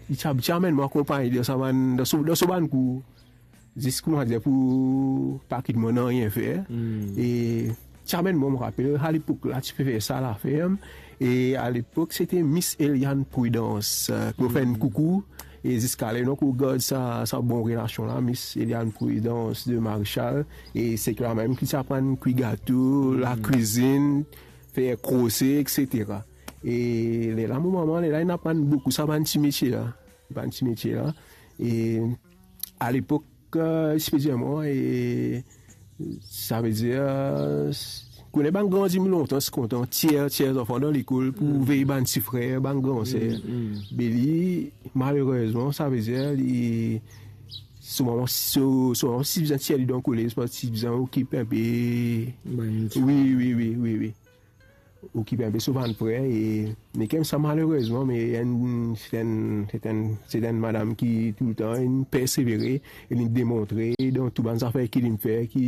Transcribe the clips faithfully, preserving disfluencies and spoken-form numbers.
li ti, ti amenn mwa akonpagn li dan sa bann, dan so, dan so bann kour. Zis kouma dir pou pa kit mwa nanye fer. Hmm. E ti amenn mwa, mo rapel, alepok la, ti pe fer sa laferm. E alepok, se te Miss Eliane Prudence, euh, ki mo fer enn koukou. E ziska le, donk, ou gard sa, sa bon relasion la, Miss Eliane Prudence de Marichal. E se li la mem ki ti aprann kwi gato, lakwizinn, fer krose, et cetera. E lerla mo mama, lerla, inn aprann boukou sa bann ti metie la. Bann ti metie la. E alepok, euh, ti pe dir mwa, e savedir, euh, kone bann gran dimoun lontan, ti kontan tir, tir zanfan dan lekol pou vey bann ti frer, bann gran ser. Mm, mm. Be li, malerezman, savedir, li, so mama, so, so mama ti bizin tir li dan koler, parski ti bizin okip inpe. Bann ti... Wi, wi, wi, wi, wi. Okip inpe so bann frer, e, me kemsa, malerezman, me enn, se enn, se enn, se enn madam ki toultan inn persevere, e li demontre dan tou bann zafer ki li fer ki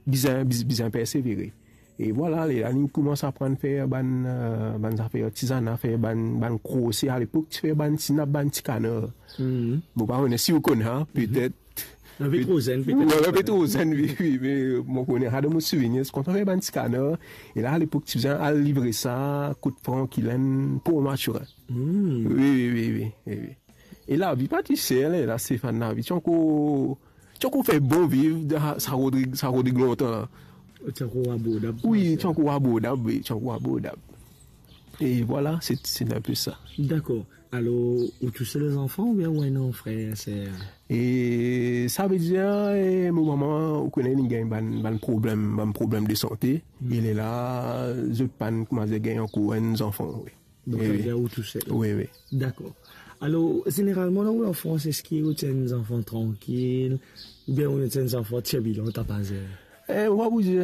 bizin, biz-, bizin persevere. E vwala, lerla li koumans aprann fer bann, euh, bann zafer artizana, fer bann, bann krose. Alepok, ti fer bann ti nap, bann ti kanar. Mhm. Mo pa kone si ou konn sa, petet. Ape tro zenn, petet. Wi, ape tro zenn, wi, wi, me mo kone sa dan mo souvenir, ti kontan fer bann ti kanar. E la, alepok, ti bizin al livre sa kot Franklin, Port Mathurin. Hmm. Wi, wi, wi, wi, wi, wi. E lavi pa ti ser, la, Stéphane, lavi ti ankor, ti ankor fer bon viv dan sa Rodrig, sa Rodrig lontan la. Ti ankor abordab. Wi, ti ankor abordab, wi, ti ankor abordab. E vwala, se, se enn pe sa. Dakor. Alor, ou tousel zanfan oubien ou ena frer, ser? E savedir, e, mo mama, ou kone, li gagn bann, bann problem, bann problem de sante. Hmm. E lerla, zot pa'nn koumans gagn ankor enn zanfan, wi. Donk, wi, savedir ou tousel? Wi, wi. Dakor. Alor, zeneralman, dan ou lanfans, eski ou ti enn zanfan trankil, oubien ou ti enn zanfan tirbilan, tapazer? E, mo pa pou dir,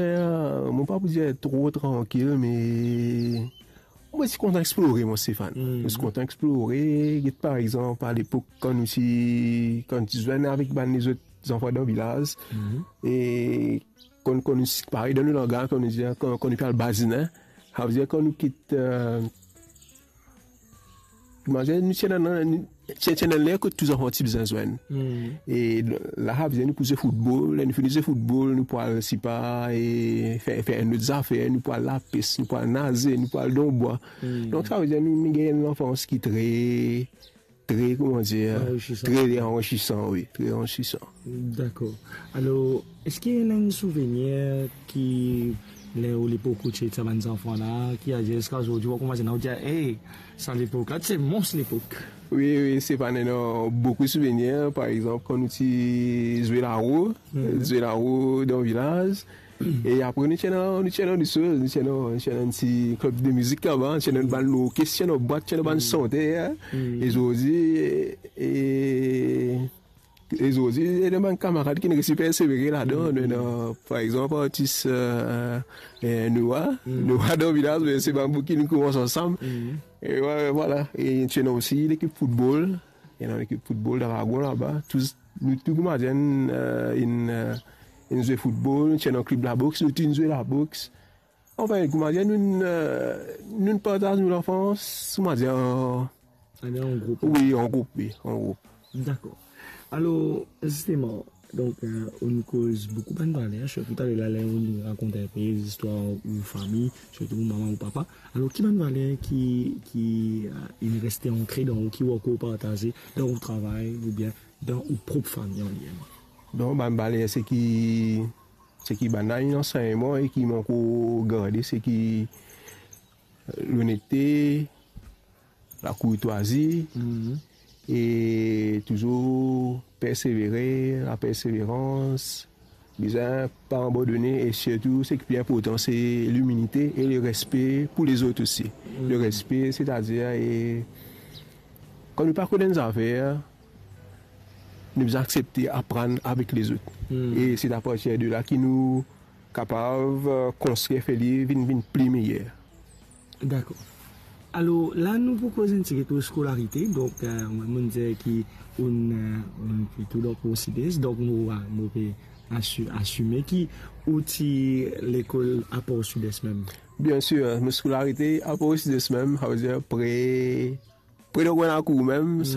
mo pa pou dir tro trankil, me mo ti kontan explore, mwa, Stéphane. Hmm. Mo ti kontan explore, get par exanp, alepok, kan nou ti, kan nou ti zwenn avek bann lezot zanfan dan vilaz, hmm, e kan, kan nou, parey dan nou langaz, kan nou dir, kan, kan nou pe al bazinen, savedir kan nou kit, e, Imazinn, nou ti ena, nou ti, ti ena ler kot tou zanfan ti bizin zwenn. Hmm. E la, savedir nou pou zwe foutbol, ler nou fini zwe foutbol, nou pou al, sipa, e fer, fer enn lot zafer, nou pou al lapes, nou pou al naze, nou pou al dan bwa. Hmm. Donk, savedir nou, nou gagn enn lanfans ki tre, tre, kouma dir, anrichisan. Tre anrichisan, wi, tre anrichisan. Dakor. Alor, eski ena enn souvenir ki, ler ou lepok ou ti ete sa bann zanfan la, ki adir ziska zordi, ou koumans ena, ou dir, "Ey, sa lepok la, se mons lepok"? Wi, wi, Stéphane, ena boukou souvenir. Par exanp, kan nou ti zwe laro, hmm, zwe laro dan vilaz, e apre nou ti ena, nou ti ena de soz, nou ti ena, nou ti ena enn ti klib de mizik laba, nou ti ena bann lorkes, ti ena bwat, ti ena bann santer, hmm, e zordi, e E zordi, ena bann kamarad ki resi persevere ladan. Mm. Ena, par exanp, artis, e, e, Noah. Mm. Noah dan vilaz, me se bann boug ki nou koumans ansam. Mm. E, wi, vwala. E ti ena osi lekip foutbol. Ena lekip foutbol Dragon laba. Tou, nou tou kouma dir, e, inn, e, inn zwe foutbol, ti ena klib laboks, nou tou inn zwe laboks. Anfin, kouma dir, nou, e, nou partaz nou lanfans, kouma dir, e, An group. Wi, an group, wi, an group. Dakor. Alor, zisteman, donk, e, ou'nn koz boukou bann valer, sirtou taler la, ler ou'nn rakont inpe zistwar ou fami, sirtou ou mama, ou papa. Alor, ki bann valer ki, ki, e, inn reste ankre dan ou, ki ou ankor partaze dan ou travay oubien dan ou prop fami an limem? Donk, bann valer, seki, seki bann la inn ansegn mwa e ki mo ankor garde, seki lonete, lakourtwazi, mhm, e touzour persevere, laperseverans, bizin pa abandone, e sirtou, seki pli inportan, se limilite e lerespe pou lezot osi. Mhm. Lerespe, setadir, e kan nou pa konn enn zafer, nou bizin aksepte aprann avek lezot. Hmm. E se apartir de la ki nou kapav, e, konstrir, fer li vinn, vinn pli meyer. Dakor. Alor, la nou pou koz enn tigit lor skolarite. Donk, e, mwa, mo'nn dir ki ou'nn, e, ou'nn plito dan Port Sud-Est. Donk, mo, mo pe asi-, asime ki ou ti lekol a Port Sud-Est mem. Biensir, mo skolarite a Port Sud-Est mem, savedir pre, pre dan Grenn Lakour mem, hmm, sa